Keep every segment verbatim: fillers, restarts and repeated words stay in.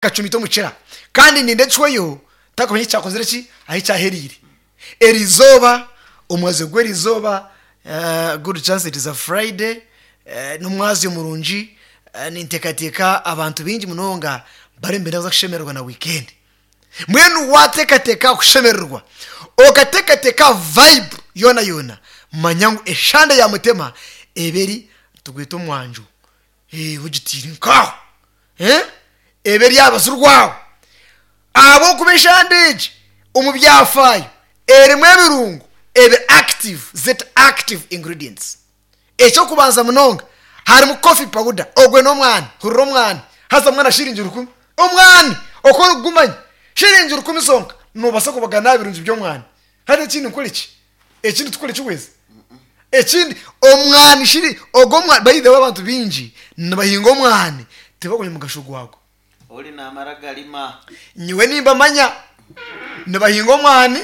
Kacumita omukira kandi ninda ekihweyo ntakumanya eki kyakozire ki, ahi kyahereire erizooba, omwazyo gw'erizooba. Good chance it is a Friday, n'omwazyo murungi. Ninteekateeka abantu baingi munonga bariyo nibenda kuza kushemererwa na wiikendi. Mbwenu waateekateeka aha kushemererwa, okateekateeka aha vibe yoona yoona, manya ngu eshande ya Mutema ebe eri nitugweta omwanjo, ogitiire nk'aho, ebe eri aha rubaju rwawe ahabw'okuba eshande egi omu byafaayo erimu ebirungo ebi active, zeti active ingredients. Eky'okubanza munonga harimu coffee powder, ogwe n'omwani, hurira omwani, haza mbwenu shiringi rukumi, omwani oku orikugumanya, shiringi rukumi zonka noobaasa kubagana aha birungi by'omwani. Hati ekindi nkore ki? Ekindi tukore ki weeza? Ekindi omwani shiri ogwo omwani, by the way abantu baingi nibahinga omwani tibakumanya omugasho gwagwo. Ori namara garima. Nyowe nimbamanya nibahinga omwani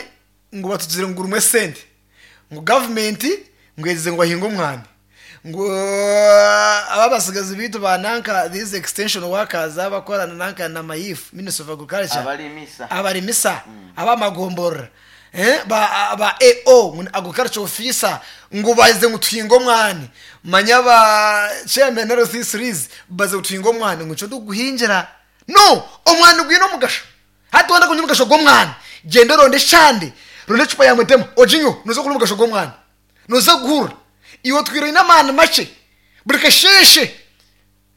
ngu batugire ngu gurimu esente, ngu gavumenti ngu egize ngu bahinge omwani, ngu aba abatsigazi baitu ba nanka these extension workers abakora nanka na MAIF, Ministry of Agriculture, Abarimisa. Abarimisa ab'amagomborora, ba ba A O ngu ni agriculture officer, ngu baze ngu tuhinge omwani, manya ba chairman L C threes baze ngu tuhinge omwani, ngu nikyo ndikuguhingira. No, omwani gwine omugasho. Hati wayenda kumanya omugasho gw'omwani, gyenda oronde eshande, ronda ecupa ya Mutema oginyweho, noza kuhurira omugasho gw'omwani. Noza kuguhurira. Iwe otwire oine amaani makye, buri kasheeshe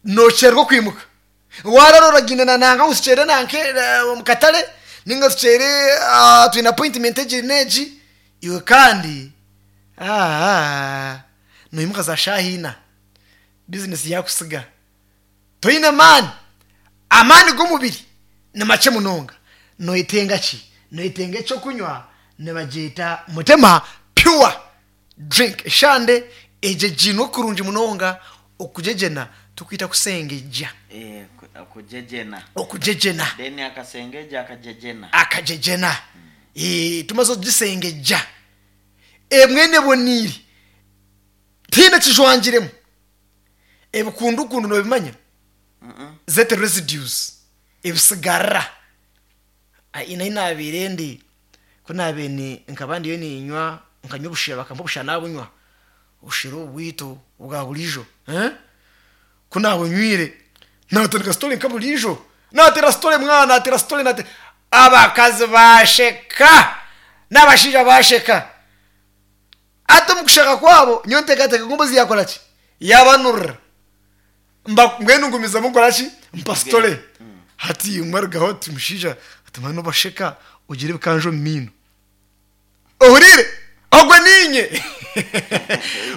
nookyererwa okwimuka. Waarara oragyenda na nanka ngu tukyere nanka omu katare ninga tukyere twine appointment egi n'egi, iwe kandi noimuka za shaaha ina, bizinesi yaakutsiga. Toine maani, amaani g'omubiri ni makye munonga. Noyetenga ki? Noyetenga eky'okunywa nibagyeta Mutema Pure Drink. Eshande egyegyinwe kurungi munonga, okugyegyena tukwita kusengejja. Eh, ku- okugyegyena. Okugyegyena. Then akasengejja akagyegyena. Akagyegyena. Eh, tumaze okugisengejja, emwe eboniire, tihaine kijwangiremu ebikundukundu, nobimanya? Mm-mm. Zete residues, ebisigarira. Ai, nahi nabiire ndi ku nabiire ni nkaba ndiyo ninywa, nkanywa obushera, bakampa obushera nabunywa, obushera obu bwitu obwa buriijo, eh? Ku nabunywire natandika story nka buriijo, natera story mwana, natera story, natera, abakazi basheka n'abashaija basheka. Ati omu kusheka kwabo nyowe nteekateeka ngu embuzi yakora ki, yabanurira. Mba mbwenu ngumizamu nkora ki, mpa story. Hati omwe arugaho ati, "Mushaija," ati, "mani nobasheka ogira ebikanja omu maino." Ohuriire? Ogwe niinye.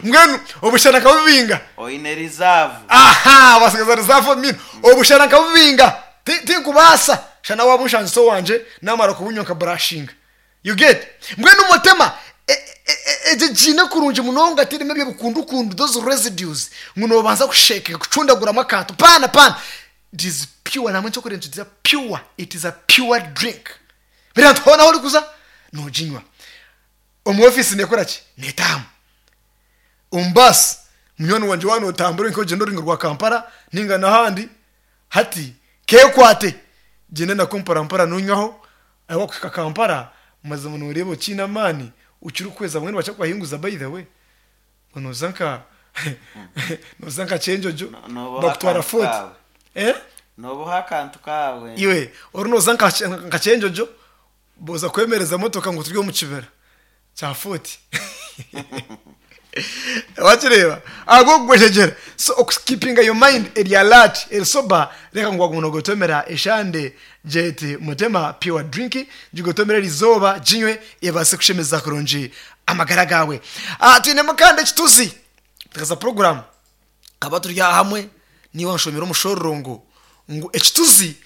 Mbwenu obushera nkabubinga. Oine reserve. Aha, wasigaza reserve omu maino. Obushera nkabubinga, Ti- tinkubaasa shana waba onshangisa owangye namara kubunywa nka brashinga, you get? Mbwenu Mutema egyo giine kurungi munonga, tirimu ebyo bikundukundu, those residues ngu nobanza kusheka kucundaguramu akantu. Pana pana, it is pure. Namwe ekyokurya nikigira pure, it is a pure drink. Buriya nti hoona ahu orikuza noginywa, omu ofiisi nekora ki, netaamu, omu baasi, munywani wangye, waaba notambura nk'ogyenda orurengo rwa Kampala ninga n'ahandi, hati kekwate, gyenda nako mpora mpora nonywaho. Ahi wakuhika Kampala, mazima noreeba okiine amaani okiri kuhweza. Mbwenu bakya kubahinguza, by the way, ngo noza nka noza nka Kyenjojo. No- noboha bakutwara akantu Fort. Kawe. Eh? Noboha akantu kawe. Iwe ori noza nka nka Kyenjojo, boza kwemereza motoka ngu turi omu kibira kya Fort, wakireeba ahabw'okugwejegyera. So okukeepinga your mind eri alert, eri sober, reka ngu waguma nogotomera eshande gyete Mutema Pure Drink, gigotomere erizooba, ginywe, ebaase kushemeza kurungi amagara gawe. Ah, twinemu kandi ekituzi tukaza program kaba turi aha hamwe niwe wanshomera omushororongo ngu ekituzi.